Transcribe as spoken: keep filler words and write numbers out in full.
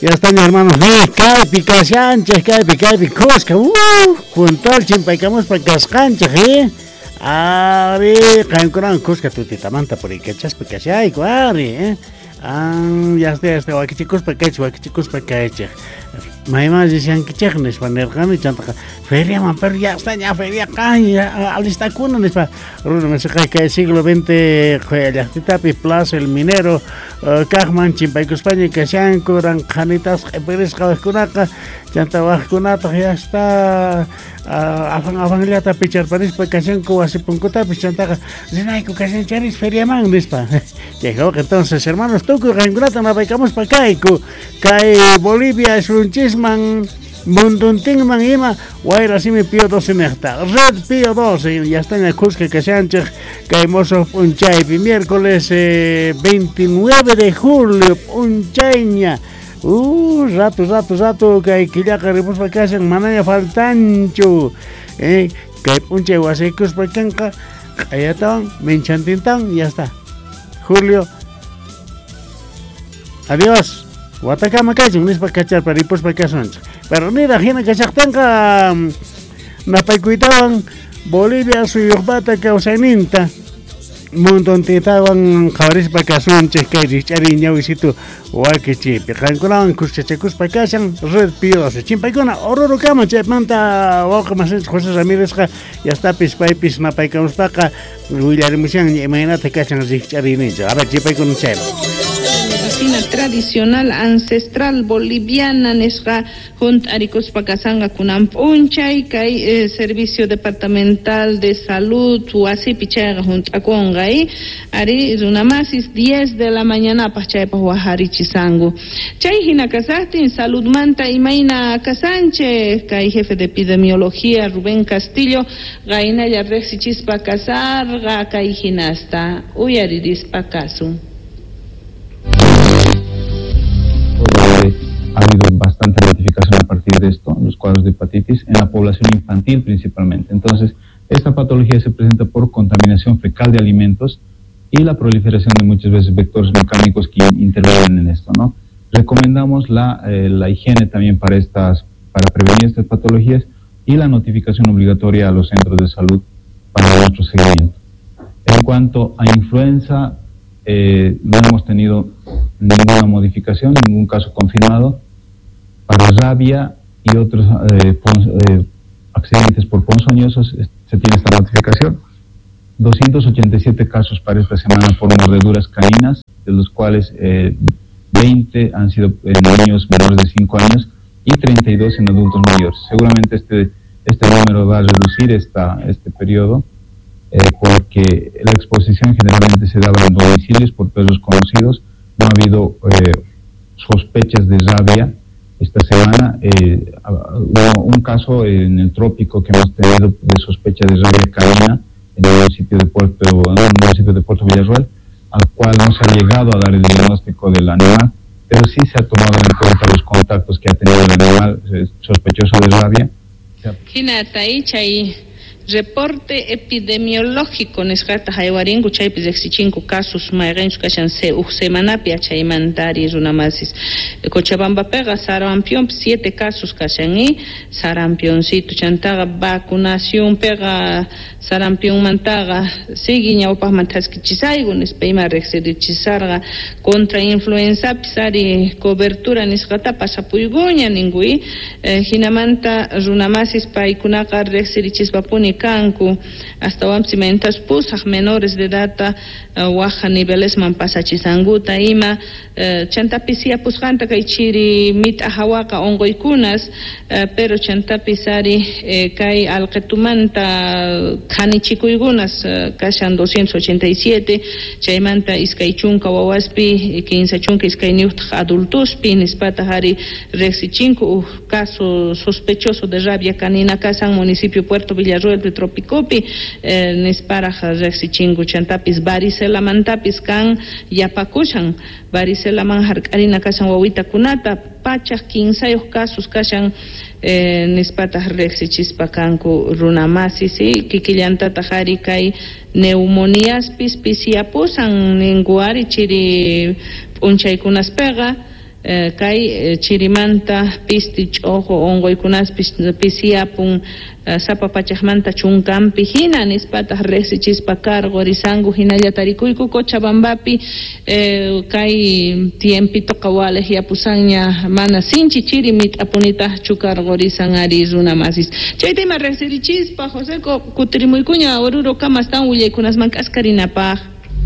Ya están, hermanos, kaypi kashanchej, kaypi, kaypi, kuska, uh, puntual chimpaykamuspa kasqanchej, eh. Ari, qankunawan kuska tutitamanta puriykachaspa kashayku, ari, eh. Ah, ya está, ya está, wakichikuspa kaychej, wakichikuspa kaychej. Mayman rishankichej nispa nirqani, chantaqa feriaman, pero ya está, ña feria kan, alistakuna nispa. Runa masiqa kay siglo veinte llaqtitapi Plaza El Minero kaqman chimpaykuspaña kashanku, ranqhanitas q'ipirisqa wajkunaqa, chanta wajkunataq ya está afan afanllata picharparispa kashanku wasi punkutapis, chantaqa rinayku kashancharis feriaman nispa. Llegó entonces, hermanos, tukuy qankunata napaykamuspa kayku, kay Bolivia suyunchisman munduntinman ima wayra simi Pío doce nejta, Red Pío doce, ya está en el kuska kashanchej kay mozo p'unchaypi, miércoles eh, veintinueve de julio p'unchayña. Uh, rato, rato, rato, kay killaqa ripuspa kashan, manaña faltanchu. Eh, kay p'unchay wasiykuspa kanqa, q'ayatawan, minchantintawan, ya está. Julio, adiós. Watakama kachun, nispa kacharpa ripuspa kasunchej. Pero niraj hina kashaqtinqa, napaykuytawan Bolivia suyuqpata kawsayninta munduntintawan qhawarispa kasunchej kay rikch'ariy ñawisitu wakichiypi. Qankunawan kuskachakuspa kashan Red Pío doce. Chimpaykuna Orurukama chaymanta wawqi masinchik José Ramírezqa yastapis paypis napaykamuspaqa willarimushan imaynata kashan rikch'ariyninchik. A ver, chimpaykuna chayman. Medicina tradicional ancestral boliviana nisqa junt'arikuspa kasanga kunan p'unchay kay eh, servicio departamental de salud wasipi chayqa junt'akunqa eh? Ari runamasis diez de la mañana paj chaypaj wajarichisanku chay hina kasaqtin saludmanta imayna kasanchej kay jefe de epidemiología Rubén Castillo qaynalla riqsichispa kasarqa kay hinasta uyaririspa kasun. Ha habido bastante notificación a partir de esto, los cuadros de hepatitis, en la población infantil principalmente. Entonces, esta patología se presenta por contaminación fecal de alimentos y la proliferación de muchas veces vectores mecánicos que intervienen en esto, ¿no? Recomendamos la, eh, la higiene también para, estas, para prevenir estas patologías y la notificación obligatoria a los centros de salud para nuestro seguimiento. En cuanto a influenza, eh, no hemos tenido ninguna modificación, ningún caso confirmado. Para rabia y otros eh, pon, eh, accidentes por ponzoñosos se tiene esta notificación. doscientos ochenta y siete casos para esta semana por mordeduras caninas, de los cuales eh, veinte han sido en niños menores de cinco años y treinta y dos en adultos mayores. Seguramente este, este número va a reducir esta, este periodo, eh, porque la exposición generalmente se daba en domicilios por perros conocidos. No ha habido eh, sospechas de rabia esta semana. Eh, hubo un caso en el trópico que hemos tenido de sospecha de rabia canina en el municipio de Puerto, en el municipio de Puerto Villarroel, al cual no se ha llegado a dar el diagnóstico del animal, pero sí se ha tomado en cuenta los contactos que ha tenido el animal sospechoso de rabia. Reporte epidemiológico nisqata haywarinku chaypi riqsichinku casos mayqinchus kashan uj semanapi achaymantari runamasis Cochabambapiqa sarampionpi siete casos kashan y sarampioncito chantaqa vacunacionpiqa sarampionmantaqa sigui ñawpaqman thaskichisayku nispa ima riqsirichisarqa contra influenzapis ari cobertura nisqata pasapuykuña ninku y hinamanta runamasis paykunaqa riqsirichispapuni kanku hasta mentas pusaq menores de edad waja nivelesman pasachisankuta ima chantapis yapusqanta kay chiri mit'a hawaqa unquykunas pero chantapis ari kay alqitumanta qhanichikuykunas kashan doscientos ochenta y siete chaymanta iskay chunka wawaspi kinsa chunka iskayniyuqtaq adultospi nispataq ari riqsichinku uj caso sospechoso de rabia canina kasan municipio Puerto Villarroel de Tropicopi eh, nisparaj riqsichinku chantapis varicelamantapis kan yapakushan varicelaman hark'arina kashan wawitakunata pachaj kinsayuq casos kashan eh, nispataq riqsichispa kanku runamasis kikillantataq ari kay neumoniaspis pisiapusan ninku ari chiri p'unchaykunaspiqa Kay chirimanta pisti ch'ojo onqoykunaspis pisiyapun sapa pachajmanta chunkampi hina nispataq riqsichispa karqurisanku hinalla tarikuyku Cochabambapi kay tiempitoqa waliq yapusanña mana sinchi chiri mit'apunitaqchu karqurisan ari runa masis chayta ima riqsirichispa Joseco kutirimuykuña Oruro kamastan willaykunasman k'askarinapaq.